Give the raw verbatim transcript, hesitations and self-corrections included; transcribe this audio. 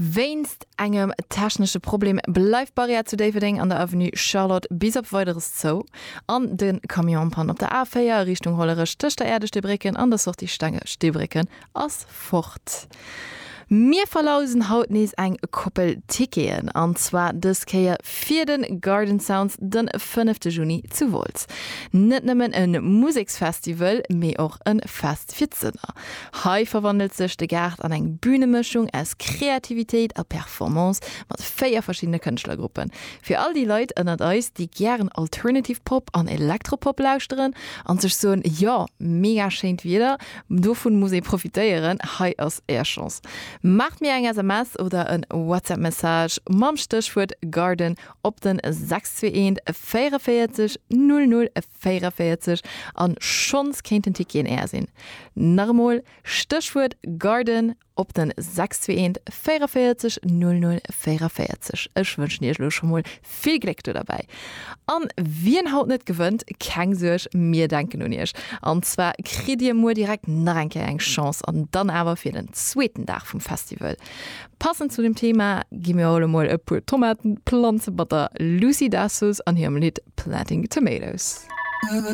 Wéinst engem technesche Problem bleift d'Barrière zu Déifferdeng an der Avenue Charlotte bis op Weideres zou. An de Camion en panne op der A véier Richtung Hollerech tëscht der Aire de Steebrécken an der Sortie Stenge Steebrécken ass fort. Mir verlousen haut nees eng Koppel Ticketen, an zwar dës Kéier fir de Garden Sounds de fënnefte Juni zu Wolz. Net nëmmen e Museksfestival, mee och e Fest fir d'Sënner. Hei verwandelt sech de Gaart an eng Bünemëschung aus Kreativitéit a Performance mat véier verschiddene Kënschtlergruppen. Fir all déi Leit ënnert eis, déi gären Alternative Pop an Elektropop lauschteren an sech soen, Jo, mega schéint Wieder, dovun muss ee profitéieren, hei ass är Chance. Maacht mir eng S M S oder en WhatsApp Message mam Stéchwuert Garden op den sechs zwee eent véierunvéierzeg null null véierunvéierzeg an schonns kéinten Ticketen är sinn. Nach emol, Stéchwuert Garden op den sechs zwee eent véierunvéierzeg null null véierunvéierzeg. Ech wënschen iech elo scho mol vill Gléck do derbäi. An wien haut net gewënnt, keng Suerg, mir denken un iech. An zwar kritt dir muer direkt nach eng Kéier eng Chance an dann awer fir den zweeten Dag vum Festival. Passend zu dem Thema gi mir elo mol e puer Tomaten planze mat der Lucy Dacus an hirem Lidd Planting Tomatoes.